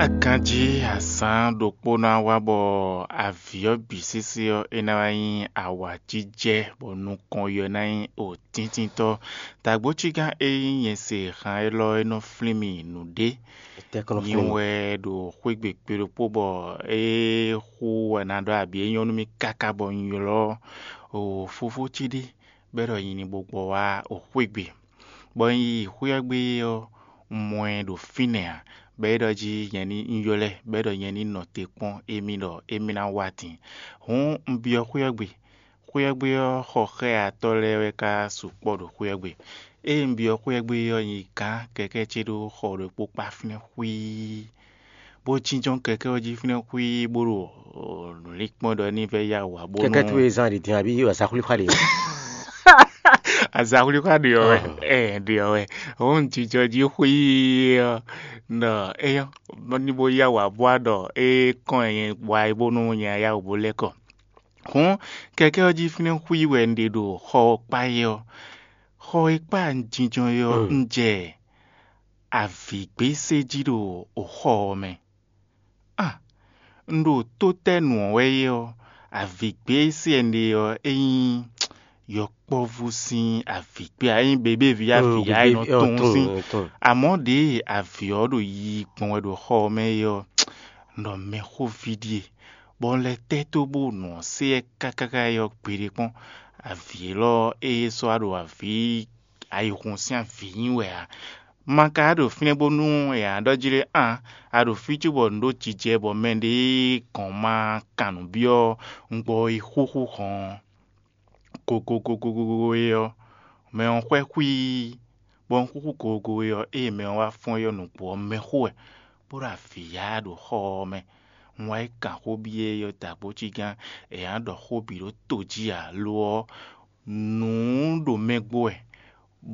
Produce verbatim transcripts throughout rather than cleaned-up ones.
Aganjí azǎn ɖokpó ná wá bɔ avǐ ɔ́ bǐ sésé ɔ́, é ná wá nyí awǎjijɛ, bɔ nukɔn ɔ́ ná nyí òtíntintɔ́. Dǎgbócígán e nyí nyɛ se han élɔ́ é nɔ flín mì nǔɖé. Nyi wɛ ɖo xwé gbe kpe ɖokpó bɔ é xú wɛ ná ɖɔ abǐ é nyɔ́ nú mì káká bɔ un ylɔ́ fofó ce ɖé bɔ é ɖɔ nyi ní bó gbɔ wá xwé gbe. Bɔ un yi xwé ɔ́ gbe ɔ́, un mɔ ɛ ɖo fínɛ́ ǎ, bɔ é ɖɔ jí nyɛ ní un ylɔ́ ɛ, bɔ é ɖɔ nyɛ ní nɔ te kpɔ́n émí ɖɔ émí ná wá din. Hǔn un byɔ́ xwé ɔ́ gbe. Xwé ɔ́ gbe ɔ́, xɔ xɛ́yatɔ́ lɛ́ɛ wɛ ka sukpɔ́ ɖo xwé ɔ́ gbe. Ée un byɔ́ xwé ɔ́ gbe ɔ́, nyi gǎn kɛkɛ́ ce ɖó xɔ ɖokpó kpá fínɛ́ xwíí, bó jínjɔ́n kɛkɛ́ ɔ́ jí fínɛ́ xwíí, bó ɖo nǔ lin kpɔ́n ɖɔ ní vɛ́ yá wǎ bónú. Kɛkɛ́ towe zán ɖi din abǐ azaxwlíxwá ɖe ɔ́? Azaxwlíxwá ɖe ɔ́ wɛ. Ɛ ɖe ɔ́ wɛ. Hǔn jijɔ jí xwíí ɔ́, nɔ éyɔ́ ní bó yá wǎ bó wá ɖɔ é kɔn nyɛ wá bónú nyɛ yá wǔ bó lɛ́ kɔ. Hǔn kɛkɛ́ ɔ́ jí fínɛ́ xwíí wɛ un ɖe ɖo xɔ ɔ́ kpá é ɔ́. Xɔ e kpá un jínjɔ́n é ɔ́, un jɛ avǐgbésé jí ɖo xɔ ɔ́ mɛ. A! Un ɖo tó tɛ́ nu ɔ́ wɛ é ɔ́, avǐgbésé e un ɖe ɔ́, é nyí yɔkpɔ́vú sín avǐgbé ǎ, é nyí bebévi avǐ ǎ, é nɔ tunwun sín. Amɔ̌ ɖěe avǐ ɔ́ ɖo yiyi gbɔn wɛ ɖo xɔ ɔ́ mɛ é ɔ́, un ɖɔ mɛxóví ɖíe, bɔ un lɛ́ tɛ́ tó bó nɔ se ɛ káká é ɔ́ gbeɖé kpɔ́n. Avǐ élɔ́ ée sɔ́ wá ɖo avǐ ayihun sín avǐ nyí wɛ ǎ. Ma ka ɖo fínɛ́ bónú è nǎ ɖɔ jí ɖé a, a ɖo fí cóbɔ nǔ ɖo jijɛ bɔ mɛɖé gɔ̌n ma kan nǔ byɔ́ un gbɔ yi xúxú hɔn gogogogogo é ɔ́, mɛ ɔ́ xwɛ xwíí, bɔ un xúxú gogogo é ɔ́, ée mɛ ɔ́ wá fɔ́n é ɔ́, nǔgbó ɔ́ mɛ xó wɛ, bó ɖo avǐ yá ɖo xɔ ɔ́ mɛ. Un wá yi kan xó byɔ́ é ɔ́ dǎgbócígán, è nǎ ɖɔ xó bǐ ɖó to jí ǎ; lo ɔ́, nǔ ɖo mɛ gbo wɛ,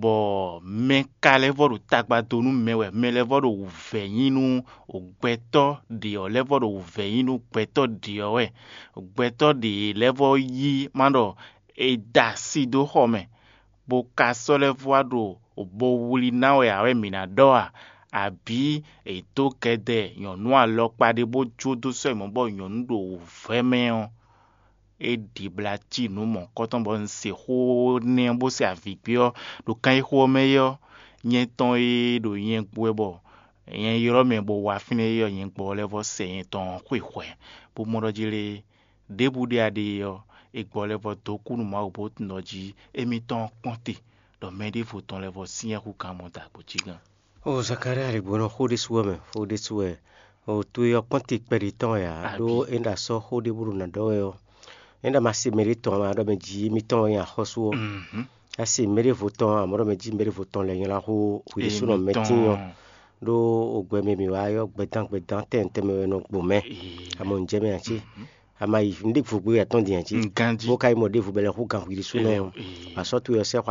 bɔ mɛ ka lɛ́ vɔ ɖo tagba dó nú mɛ wɛ; mɛ lɛ́ vɔ ɖo wǔvɛ́ nyí nú gbɛtɔ́ ɖě ɔ́ lɛ́ vɔ ɖo wǔvɛ́ nyí nú gbɛtɔ́ ɖě ɔ́ wɛ; gbɛtɔ́ ɖě lɛ́ vɔ yí má ɖɔ è da asi dó xɔ mɛ, bó ka sɔ́ lɛ́ vɔ wá ɖo bo wlí ná wɛ ǎ wɛ mǐ ná ɖɔ a? Abǐ è dǒ kɛdɛ nyɔ̌nu alɔkpa ɖé bó jó dó sɔ́ yi mɔ̌ bɔ nyɔ̌nu ɖo wǔvɛ́ mɛ ɔ́, é ɖibla cí nǔ mɔ̌hunkɔtɔn bɔ un se xó nɛ́ ɔ́ bó se avǐ gbé ɔ́ ɖo kan e xo ɔ́ mɛ é ɔ́, nyɛ tɔn e ɖo nyɛ gbo wɛ bɔ nyɛ ylɔ́ mɛ bó wá fínɛ́ é ɔ́, nyɛ gbɔ lɛ́ vɔ sɛ nyɛ tɔn ɔ́ xwe hwɛ̌, bó mɔ ɖɔ jí lé ɖěbǔ ɖé a ɖe ɔ́, è gbɔ lɛ́ vɔ dó kú nú Mawu bó tunwun ɖɔ jí émítɔn ɔ́ kpɔ́n te, ɖɔ mɛ ɖěvo tɔn lɛ́ vɔ syɛ́n hú kan mɔ dǎgbócígán. O Zakalía, lěgbónɔ xó ɖésú wɛ mɛ, xó ɖésú wɛ. O towe ɔ́ kpɔ́n te kpɛɖé tɔn wɛ ǎ, ɖó é ɖo asɔ́ xó ɖé bó ɖo nǎ ɖɔ wɛ ɔ́, é ɖo ma se mɛ ɖé tɔn ǎ, ma ɖɔ mɛ jí émítɔn wɛ nyí axɔ́sú ɔ́. A se mɛ ɖěvo tɔn ǎ, ma ɖɔ mɛ jí mɛ ɖěvo tɔn lɛ́ nylá xó hwi ɖésúnɔ mɛ tíin ɔ́, ɖó o gbɛ mɛ mǐ wá ɔ́, gbɛdán gbɛdán tɛn tɛnmɛ wɛ nɔ gbo mɛ. A mɔ nǔ jɛ mɛ ǎ cé? A ma yi un ɖěvo gbé atɔ́n din ǎ cé? Bó ka yi mɔ ɖěvo bɔ è lɛ́ hú gan hwi ɖésúnɔ ɔ́, asɔ́ towe ɔ́ sɛ́ xɔ